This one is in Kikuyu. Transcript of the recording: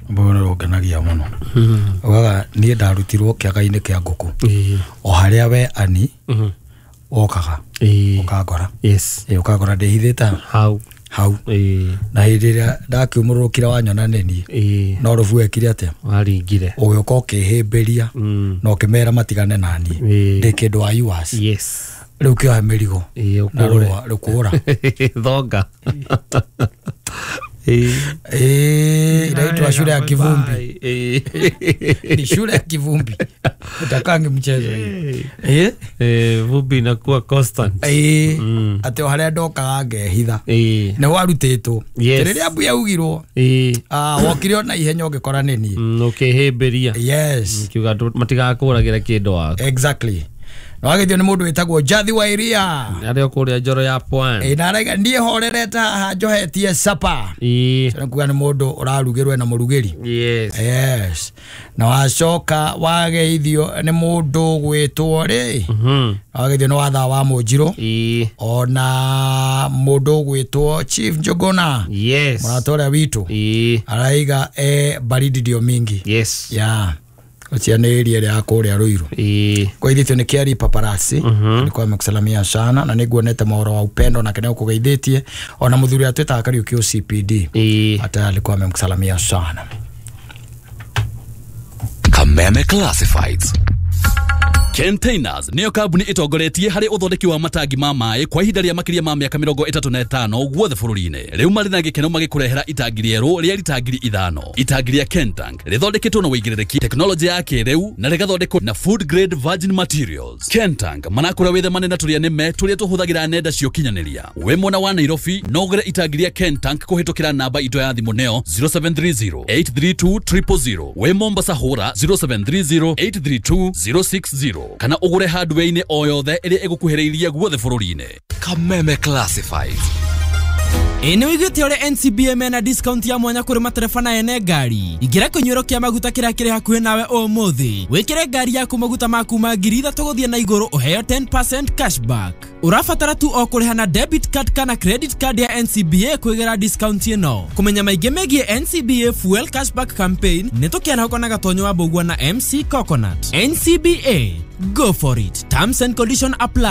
Mbona ũngenagia mũno. Ugaga niĩ ndarutirwo kĩaga-inĩ kĩa ngũkũ o harĩa we ani wokaga ũkangora. Ĩ, ũkangora ndĩhithĩte hau. Hau. Na hĩndĩ ĩrĩa ndakiumũrũrũkire wanyona nĩ niĩ, no rũbu wekire atĩa? Waringire. Ũgĩũka ũkĩhĩmbĩria na ũkĩmera matigane naniĩ. Ndĩ kĩndũ wa yours. Rĩu kĩohe mĩrigo na ũkũre. Rũa rũkũra. Thonga. Ĩ, inaitwa shule ya kivumbi. Ni shule ya kivumbi, utakangi mchezo hiyo. Eh? Vumbi inakuwa constant. Ĩ, atĩ o harĩa ndokaga ngehitha nĩ warutĩtwo. Rĩrĩa mbu yaugirwo, ah, wokire ona ihenya ũngĩkora nĩ niĩ. Ũkĩhĩmbĩria. Kiuga matigakũragĩra kĩndũ waku. Exactly. Na wagithio nĩ mũndũ wĩtagwo Jathi wa Iria. Arĩa kũrĩa njoro ya pwani. Ĩ, na araiga niĩ horerete haha njohetie sapa. Nĩ kuga nĩ mũndũ ũrarugĩrwo na mũrugĩri. Yes, na wacoka wageithio nĩ mũndũ gwĩtwo rĩ, wageithio nĩ wathaa wa mũnjirũ, ona mũndũ gwĩtwo Chief Njuguna, mũrata ũrĩa witũ. Araiga e baridi ndio mingi. Ya ũcio nĩ area ĩrĩa ya kũrĩa Ruiru. Kũgeithĩtio nĩ Kiari Paparazzi, alikuwa amekusalamia sana na nĩguonete mohoro wa upendo nake nĩ ũkũgeithĩtie, ona mũthuri atwĩtaga Kariũki OCPD, hata alikuwa amemkusalamia sana. Kameme Classifieds. Containers nĩyo kambuni ĩtongoretie harĩ ũthondeki wa matangi ma maĩ kwa ihinda rĩa makĩria ma mĩaka 35 guothe bũrũri-inĩ. Rĩu marĩ na gĩkeno magĩkũrehera itangi rĩerũ rĩa rita 5,000. Itangi rĩa Kentank rĩthondeketwo na ũigĩrĩrĩki, tekinoronjĩ ya kĩrĩu na rĩgathondekwo na food grade virgin materials. Kentank marakũra wĩthemane na tũrĩa nĩme tũrĩa tũhũthagĩra nenda cia ũkinyanĩria. Wĩ mwena wa Nairobi no ũgũre itangi rĩa Kentank kũhĩtũkĩra namba itũ ya thimũ nĩyo 0730 832 000. Wĩ Mombasa hũra 0730 832 060 kana ũgũre hardware-inĩ o yothe ĩrĩa ĩgũkuhĩrĩirie guothe bũrũri-inĩ. Kameme Classifieds. Ĩ, nĩ wĩiguĩte ũrĩa NCBA mena discount ya mwanya kũrĩ matereba na ene ngari? Ingĩra kĩnyuĩro kĩa maguta kĩrĩa kĩrĩ hakuhĩ nawe ũmũthĩ, wĩkĩre ngari yaku maguta ma kuma 3,000 gũthiĩ na igũrũ, ũheo 10% cashback. Ũrabatara tu o kũrĩha na debit card kana credit card ya NCBA kwĩgĩra discount ĩno. Kũmenya maingĩ megiĩ NCBA Fuel Cashback Campaign, nĩ tũkĩarahũka na Gatonyo wa Mbũgua na MC Coconut. NCBA, go for it. Terms and condition apply.